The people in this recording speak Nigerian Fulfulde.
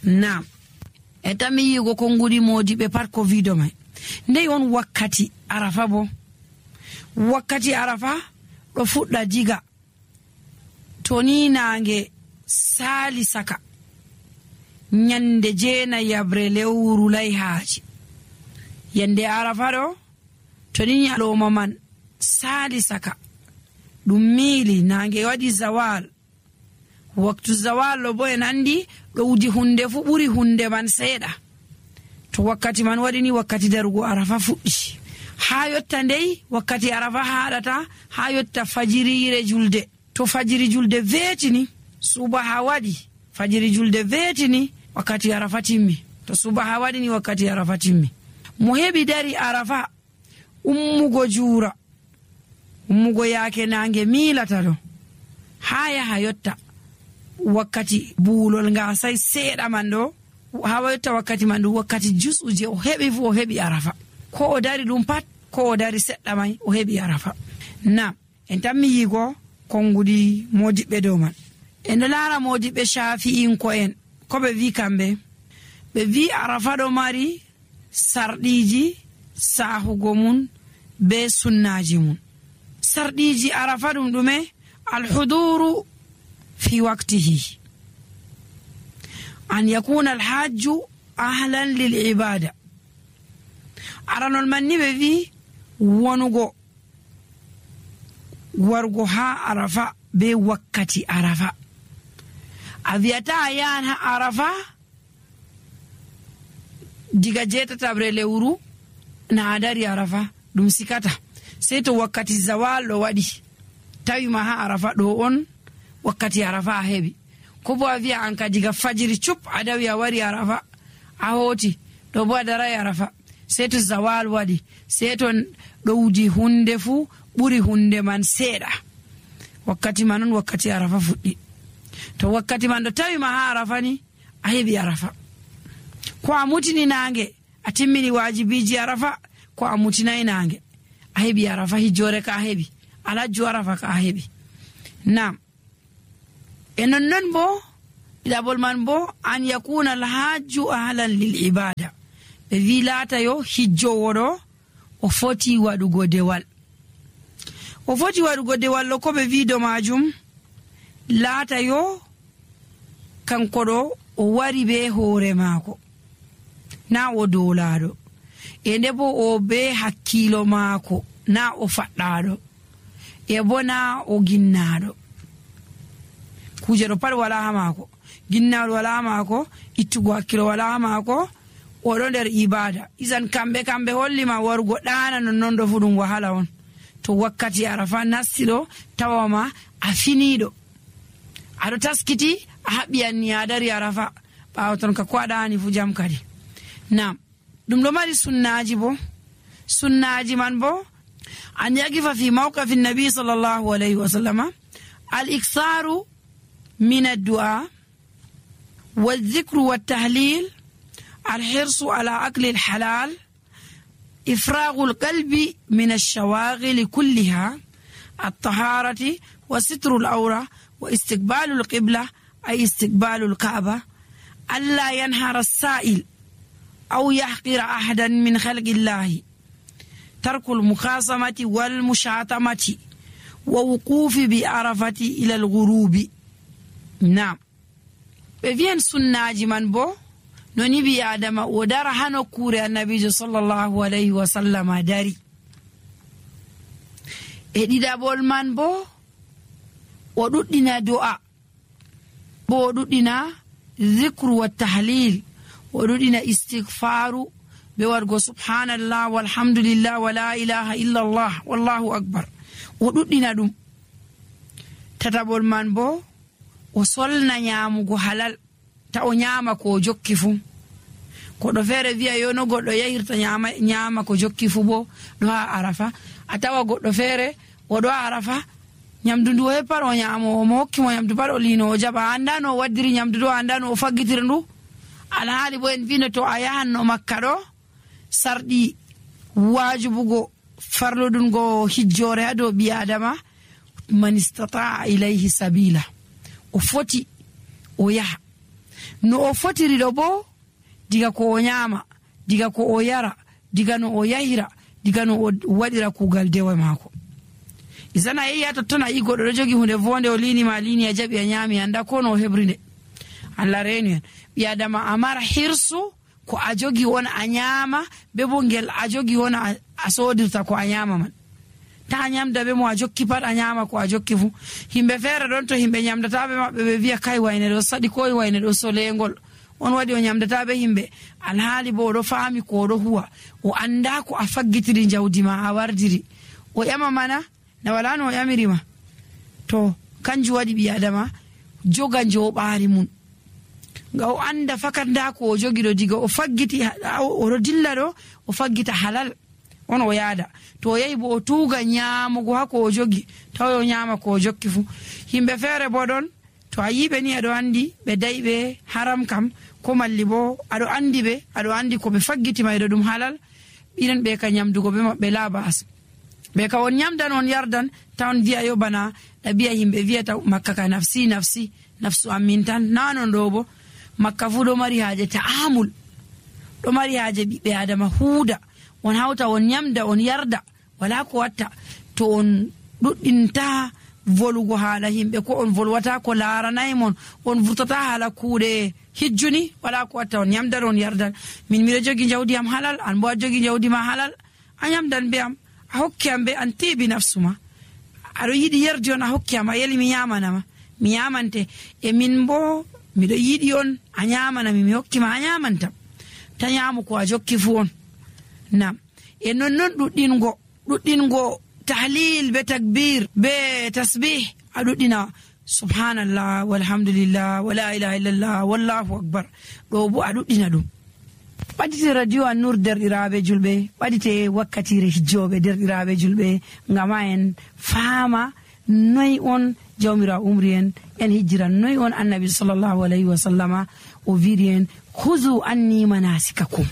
Naam, e tami yigo ko ngudi modiɓe pat ko wido mai. Ndey on wakkati arafa bo. Wakkati arafa ɗo fuɗɗa diga to ni nange sali saka nyande 9 lewru layhaaji. Yande arafa ɗo to ni nyaloma man sali saka ɗum miili nange waɗi zawal. Waktu zawal lo bo en andi ɗo wudi hunde fu ɓuri hunde man seeɗa. To wakkati man waɗi ni wakkati darugo arafa fuɗɗi. Ha yotta ndey wakkati arafa haɗata ha yotta fajirire julde. To fajiri julde veetini subaha waɗi, fajiri julde veetini wakkati arafa timmi. To subaha waɗi ni wakkati arafa timmi. Mo heɓi dari arafa ummugo juura, ummugo yaake nange miilata ɗo ha yaha yotta wakkati buulol ngasay seeɗa man ɗo ha yotta wakkati man ɗum wakkati jusuje o heɓi fu o heɓi arafa. Ko o dari ɗum pat ko o dari seɗɗa may o heɓi arafa. Nam en tammi yigo konngudi modiɓɓe dow man. En laara modiɓɓe shafi'inko en ko ɓe wi kamɓe. Ɓe wi arafa ɗo mari sarɗiji sahugo mun be sunnaji mun. Sarɗiji arafa ɗum ɗume? Alhuduru fi waqtihi, an yakuna alhajju ahlan lil ibada. Aranol man ni ɓe wi wonugo wargo ha arafa be wakkati arafa. A wiyata a yahan ha arafa diga 7 lewru na a dari arafa ɗum sikata sey to wakkati zawal ɗo waɗi tawima ha arafa ɗo on wakkati arafa a heɓi. Ko bo a wiya an ka diga fajiri cup a dawi a wari arafa a hoti ɗo bo a darai arafa sey to zawal waɗi sey to ɗo wudi hunde fu ɓuri hunde man seeɗa wakkati man on wakkati arafa fuɗɗi. To wakkati man ɗo tawima ha arafa ni a heɓi arafa. Ko a mutini nange a timmini wajibiji arafa, ko a mutinai nange a heɓi arafa. Hijjore ka a heɓi, alhajju arafa ka a heɓi. Nam e nonnon bo ɗiɗabol man bo an yakuna alhajju ahlan lil ibada. Ɓe wi laata yo hijjowo ɗo o foti waɗugo dewal. O foti waɗugo dewal ɗo ko ɓe wi do majum laata yo kanko ɗo o wari be hoore maako na o dolaɗo, e nde bo o be hakkilo maako na o faɗɗaɗo, e bo na o ginnaɗo. Kuje ɗo pat wala ha maako, ginnaɗo wala ha maako, ittugo hakkilo wala ha maako, oɗo nder ibada. Isan kamɓe hollima warugo ɗana nonnon ɗo fu ɗum wahala on. To wakkati arafa nasti ɗo tawama a finiɗo, aɗo taskiti a haɓɓi anni a dari arafa ɓawo ton ka ko aɗani fu jam kadi. Nam ɗum ɗo mari sunnaji bo. Sunnaji man bo an yaqifa fi mawqafi nabi sallallahu alayhi wa sallama al-iksaru min ad-du'a wal-dhikru wat-tahlil, al-hirsu ala akli al-halal, إفراغ القلب من الشواغل كلها، الطهارة وستر الأورة واستقبال القبلة أي استقبال الكعبة، ألا ينهر السائل أو يحقر أحدا من خلق الله، ترك المخاصمة والمشاطمة ووقوف بعرفة إلى الغروب. نعم بفين سناج من بو noni bi adama o dara hano kure annabijo sallallahu alayhi wa sallama dari. E ɗiɗabol man bo o ɗuɗɗina do'a, bo o ɗuɗɗina zikru wa tahlil, o ɗuɗɗina istighfaru be wargo subhanallah walhamdulillah wa la ilaha illallah wallahu akbar, o ɗuɗɗina ɗum. Tatabol man bo o solna nyamugo halal, ta o nyama ko jokki fu. Koɗo feere wiya yo no goɗɗo yahirta nyama ko jokki fu bo ɗo ha arafa. A tawa goɗɗo feere o ɗo arafa nyamdu ndu o heppar o nyamo, mo hokki mo nyamdu pat o lino o jaɓa, anda no o waddiri nyamdu ɗo, anda no o faggitiri ndu. Alhaali bo en vino to a yahan no makka ɗo sarɗi wajibugo farlodungo hijjore ha dow ɓi adama, man istata'a ilayhi sabila, o foti o yaha. no o fotiri ɗo bo diga ko o nyama, diga ko o yara, diga no o yahira, diga no o waɗira kugal dewa mako. Isana yehi ha totton a yi goɗɗo ɗo jogi hunde vonde o linima lini a jaɓi a nyami anda ko no o hebrinde. Allah reni en ɓi adama amara hirsu ko a jogi on a nyama be bo ngel a jogi on a sodirta ko a nyama man. Ta nyamda be mo a jokki pat a nyama ko a jokki fu. Himɓe feere ɗon to himɓe nyamdata be maɓɓe ɓe wiya kai wayne ɗo saɗi ko wayne ɗo solengol. On waɗi o nyamdata be himɓe alhaali bo oɗo faami ko oɗo huwa o anda ko a faggitiri jawdi ma a wardiri o ƴama mana na wala no o ƴamirima. To kanjum waɗi ɓi adama joga joɓaari mum nga o anda fakat nda ko o jogi ɗo diga o faggiti oɗo dilla ɗo o faggita halal on o yaada. To o yahi bo o tuuga nyamugo ha ko o jogi taw o nyama ko o jokki fu. Himɓe feere bo ɗon to a yiɓe ni aɗo andi ɓe dayɓe haram kam ko malli bo aɗo andi ɓe aɗo andi ko ɓe faggiti mayɗo ɗum halal ɓiren ɓe ka nyamdugo ɓe maɓɓe labas ɓe ka on nyamdan on yardan ta on wiya yo bana ɗabi'a yimɓe wiyata makka ka nafsi nafsi nafsu amin tan nanon ɗo bo makka fu ɗo mari haaje ta'amul ɗo mari haaje ɓiɓɓe adama huuda on hawta on nyamda on yarda wala ko watta to on ɗuɗɗinta volugo haala himɓe ko on volwata ko laaranayi mon on vurtata haala kuuɗe hijjuni wala ko watta on nyamdan on yardan. Min miɗo jogi jawdi am halal an bo a jogi jawdi ma halal a nyamdan be am a hokki am be an tiibi nafsuma aɗo yiɗi yerdi on a hokki am a yeli mi nyamanama mi nyamante e min bo miɗo yiɗi on a nyamanami mi hokkima a nyamantam ta nyamu ko a jokki fu on nam e nonnon ɗuɗɗingo tahlil be takbir be tasbih a ɗuɗɗina subhanallah walhamdulillah wala ilaha illallah wallahu akbar ɗo bo a ɗuɗɗina ɗum. ɓaɗite radio An-Nur derɗiraɓe julɓe ɓaɗite wakkatire hijjoɓe derɗiraɓe julɓe ngama en faama noyi on jawmira umri en hijjira noyi on annabi sallallahu alayhi wa sallama o wiiri en huzu anni manasikakum